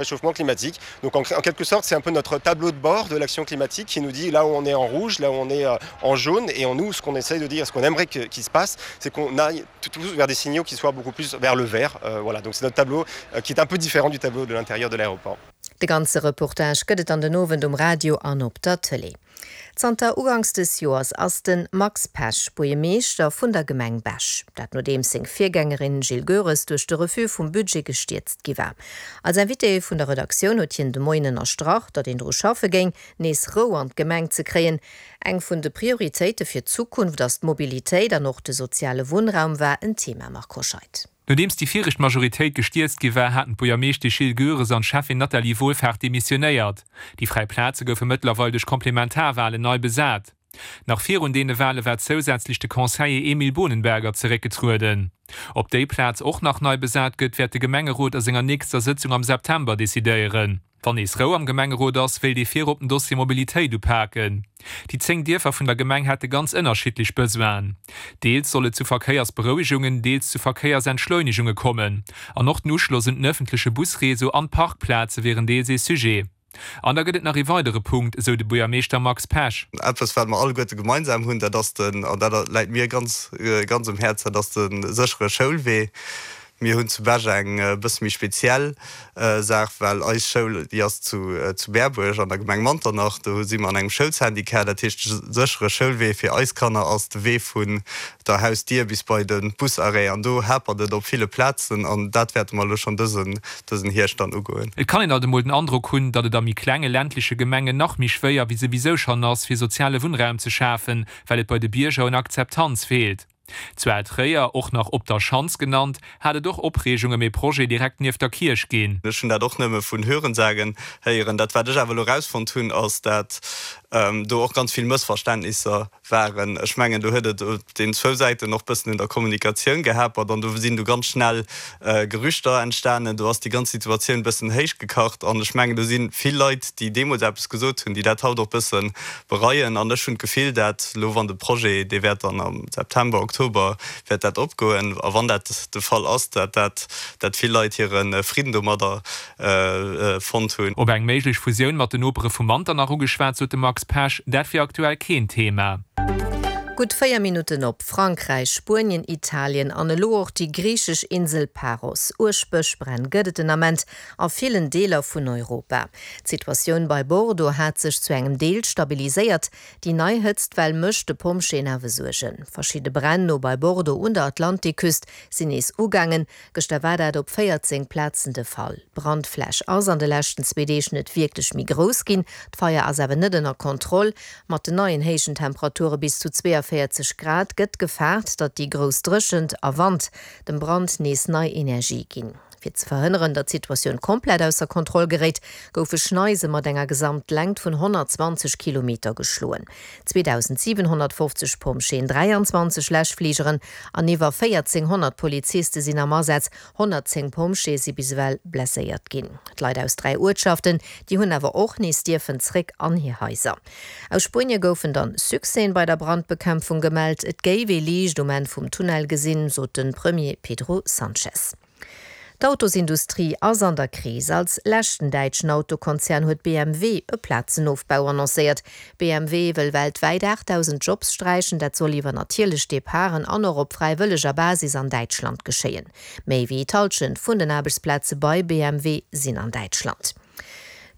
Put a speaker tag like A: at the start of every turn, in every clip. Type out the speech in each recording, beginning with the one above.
A: Réchauffement climatique. Donc en, en quelque sorte, c'est un peu notre tableau de bord de l'action climatique qui nous dit là où on est en rouge, là où on est euh, en jaune et en nous ce qu'on essaye de dire, ce qu'on aimerait qu'il se passe, c'est qu'on aille tous vers des signaux qui soient beaucoup plus vers le vert. Euh, voilà, donc c'est notre tableau euh, qui est un peu différent du tableau de l'intérieur de l'aéroport.
B: De ganze Reportage gëtt et an den Owend um Radio an op der Tëlee. Zanter uganks des Joers ass de Max Pesch Buergermeeschter vun der Gemeng Bech. Dat nodeems seng Virgängerin Jill Goeres duerch de Refus vum Budget gestierzt gi war. Als Invité vun der Redaktioun huet hien de Moien ënnerstrach, datt een dru schaffe géing, nees Rou an d'Gemeng ze kréien. Eng vun de Prioritéite fir d'Zukunft ass d'Mobilitéit an och de soziale Wunnraum war en Thema. Marc Hoscheid.
C: Nodeems déi viregt Majoritéit gestierzt gi war, haten d'Buergermeeschtesch Jill Goeres an d'Schäffin Nathalie Wohlfahrt demissionéiert. Déi fräi Plaze goufe mëttlerweil duerch Komplementarwalen nei besat. Nach virun deene Wale war zousätzlech de Conseiller Emile Bohnenberger zeréckgetrueden. Ob déi Plaz och nach nei besat gëtt, wäert de Gemengerot a senger nächster Sëtzung am September decidéieren. Wann nees Rou am Gemengerot ass, wéilt ee virop den Dossier Mobilitéit upaken. Déi 10 Dierfer vun der Gemeng hätte ganz ënnerschiddlech Besoinen. Deels soll et zu Verkéiersberouegungen, deels zu Verkéiersentschleunegunge kommen. An och den Uschloss un den ëffentleche Busreseau an d'Parkplaze wieren deels ee Sujet. An da gëtt et nach ee weidere Punkt, esou de Buergermeeschter Max Pesch.
D: Eppes, wat mer alleguerte gemeinsam hunn, dat ass den, an dat läit mir ganz, ganz um Häerz, dat ass de séchere Schoulwee. Mir hunn zu Bech eng e bësse méi speziell Saach, well eis Schoul, déi ass zu zu Berbuerg an der Gemeng Manternach. Do si mer an engem Schoulsyndicat. Dat heescht, de séchere Schoulwee fir eis Kanner ass de Wee vun der Hausdier bis bei de Busarrêt. An do hapert et op ville Plazen an dat wäerte mer elo schonn dësen dësen Hierscht dann ugoen.
C: Et kann een alt emol den Androck hunn, datt et a méi klenge ländleche Gemengen nach méi schwéier wéi souwisou schonn ass, fir soziale Wunnraum ze schafen, well et bei de Bierger un Akzeptanz feelt. Zu Altréier, och nach Op der Schanz genannt, hat et och Opreegung ëm ee Projet direkt nieft der Kierch ginn.
D: Ech hunn dat och nëmme vun Hörensagen héieren. Dat wat ech awer elo erausfonnt hunn, ass dat do och ganz vill Mëssverständnisser waren. Ech mengen do huet et op den zwou Säiten och bëssen un der Kommunikatioun gehapert an do sinn du ganz schnell Gerüchter entstanen. Do ass déi ganz Situatioun bëssen héichgekacht an ech mengen do si vill Leit, déi deemools eppes gesot hunn, déi dat haut och bësse bereien. An ech hunn d'Gefill, dat elo wann de Projet, dee wäert dann am September, Oktober wäert dat opgoen, a wann dat de Fall ass, dat dat dat vill Leit hire Fridden domadder fonnt hunn.
C: Op eng méiglech Fusioun mat den Nopere vu Manternach ugeschwat, sot de Max Pesch, dat wier aktuell keen Thema.
B: Gutt 4 Minutten op Frankräich, Spuenien, Italien an elo och déi griichesch Insel Paros. Uerg Bëschbränn gëtt et den Ament a villen Deeler vun Europa. D'Situatioun bei Bordeaux hat sech zu engem Deel stabiliséiert. Déi nei Hëtztwell mécht de Pompjeeën awer Suergen. Verschidde Bränn no bei Bordeaux un der Atlantikküst sinn nees ugaangen. Gëschter war dat op 14 Plazen de Fall. D'Brandfläch ass an de leschten zwee Deeg net wierklech méi grouss ginn. D'Feier ass awer net ënner Kontroll. Mat den neien héijen Temperature bis zu 42 Grad gëtt gefaart, datt déi grouss Dréchent a Wand dem Brand nees nei Energie ginn. Fir ze verhënneren, datt d'Situatioun komplett ausser Kontroll geréit, goufe Schneise mat enger Gesamtlängt vun 120 Kilometer geschloen. 2.750 Pompjeeën, 23 Läschfligeren an iwwer 1.400 Poliziste sinn am Asaz. 110 Pompjeeë si bis ewell blesséiert ginn. D'Leit aus 3 Uertschaften, déi hunn awer och nees dierfen zréck an hir Haiser. Aus Spuenie goufen dann Succèsen bei der Brandbekämpfung gemellt. Et géif ee Liicht um Enn vum Tunnel gesinn, sot de Premier Pedro Sanchez. D'Autosindustrie ass an der Kris. Als leschten däitschen Autokonzern huet BMW e Plazenofbau annoncéiert. BMW wëll weltwäit 8.000 Jobs sträichen. Dat soll iwwer natierlech Departen an och op fräiwëlleger Basis an Däitschland geschéien. Méi wéi d'Hallschent vun den Aarbechtsplaze bei BMW sinn an Däitschland.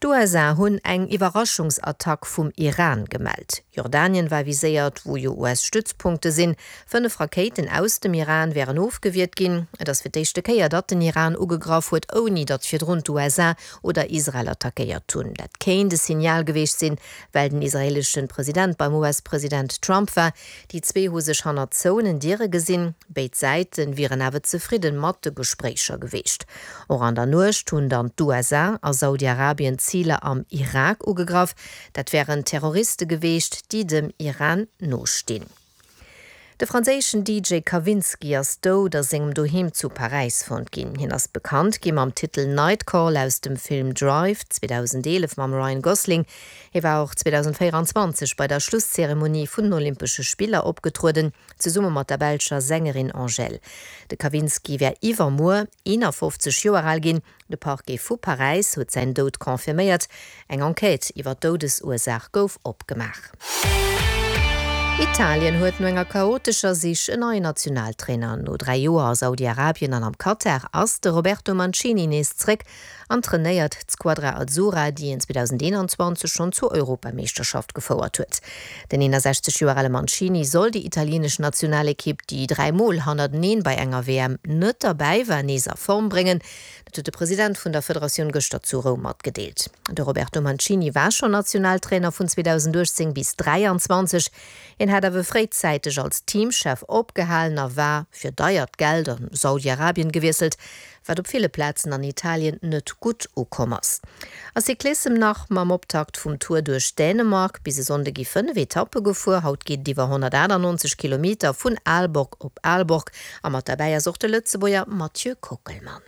B: D'USA hunn eng Iwwerraschungsattack vum Iran gemellt. Jordanien war viséiert, wou jo US-Stützpunkte sinn. 5 Rakéiten aus dem Iran wären ofgewiert ginn. Et ass fir d'éischte Kéier, datt den Iran ugegraff huet, ouni datt virdrun d'USA oder Israel attackéiert hunn. Dat kéint e Signal geweecht sinn, well den israeeleschen President beim US-President Trump war. Déi zwee hu sech hannert zouenen Diere gesinn. Béid Säite wieren awer zefridde mat de Gespréicher geweecht. Och an der Nuecht hunn dann d'USA a Saudi-Arabien Ziler am Irak ugegraff. Dat wären Terroriste geweecht, déi dem Iran nostinn. De franséischen DJ Kavinsky ass dout a sengem Doheem zu Paräis fonnt ginn. Hien ass bekannt gi mam Titel Nightcall aus dem Film Drive 2011 mam Ryan Gosling. Hie war och 2024 bei der Schlusszeremonie vun den Olympesche Spiller opgetrueden, zesumme mat der belscher Sängerin Angèle. De Kavinsky wär iwwermuer 51 Joer al ginn. De Parquet vu Paräis huet säin Doud confirméiert. Eng Enquête iwwer d'Doudesursaach gouf opgemaach. Italien huet no enger chaotescher Sich en neien Nationaltrainer. No 3 Joer a Saudi-Arabien an am Katar ass de Roberto Mancini nees zréck an trainéiert d'Squadra Azzurra, déi en 2021 schonn zur Europameeschterschaft gefouert huet. Den 61 Joer ale Mancini soll déi italienesch Nationalekipp, déi 3 Mol hannerteneen bei enger WM net derbäi war, nees a Form bréngen. Dat huet de President vun der Federatioun gëschter zu Roum matgedeelt. De Roberto Mancini war schonn Nationaltrainer vun 2018 bis 23. Hien hat awer fréizäiteg als Teamchef opgehalen a war fir deiert Geld a Saudi-Arabien gewiesselt. wat op ville Plazen an Italien net gutt ukomm ass. A Cyclissem nach, Mam Optakt vum Tour duerch Dänemark bis e Sonnde gi 5 Etappe gefuer. Haut geet et iwwer 198 Kilometer vun Aalborg op Aalborg a mat derbäi ass och de Lëtzebuerger Mathieu Kockelmann.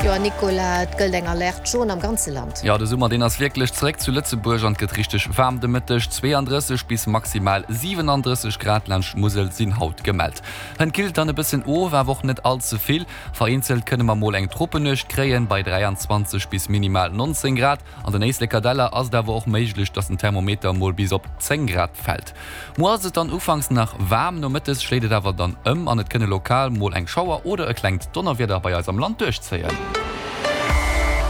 B: Jo a Nicolas, et gëllt eng Alerte jaune am ganze Land.
E: Jo, de Summer deen ass wierklech zeréck zu Lëtzebuerg an et gëtt richteg waarm de Mëtteg. 32 bis maximal 37 Grad laanscht d'Musel sinn haut gemellt. Hënt killt dann e bëssen of, awer och net all ze vill. Vereenzelt kënne mer mol eng Tropennuecht kréien, bei 23 bis minimal 19 Grad. An den Éisleker Däller ass et awer och méiglech, dass den Thermometer mol bis op 10 Grad fält. Muer ass et dann ufanks nach waarm, nomëttes schléit et awer dann ëm an et kënne lokal mol eng Schauer oder e klengt Donnerwieder bei eis am Land duerchzéien.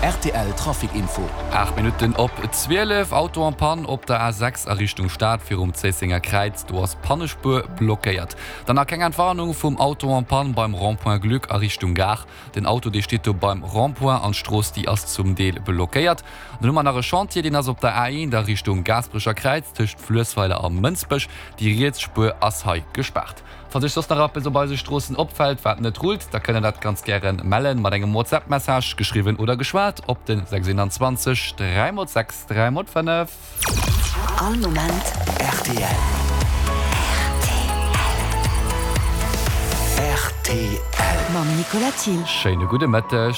F: Rtl Trafic Info.
E: 8 Minutten op 12, Auto en panne op der A6 a Richtung Stad virum Zéissenger Kräiz, do ass d'Pannespuer blockéiert. Dann nach keng Entwarnung vum Auto en panne beim Rond-point Gluck a Richtung Gare. Den Auto dee steet do beim Rond-point an d'Strooss déi ass zum Deel blockéiert. Dann hu mer nach e Chantier, deen ass op der A1 a Richtung Gaasperecher Kräiz tëscht Fluessweiler a Mënsbech. Déi riets Spuer ass hei gespaart. Falls iech soss nach eppes op eise Stroossen opfält wat net rullt, da kënnt der dat ganz gären mellen mat engem WhatsApp Message, geschriwwen oder geschwat, op den 621 3 x 6 3 x 5.
F: All Moment rtl. Rtl.
G: Mam Nicolas Thiel.
E: Schéine gudde Mëtteg.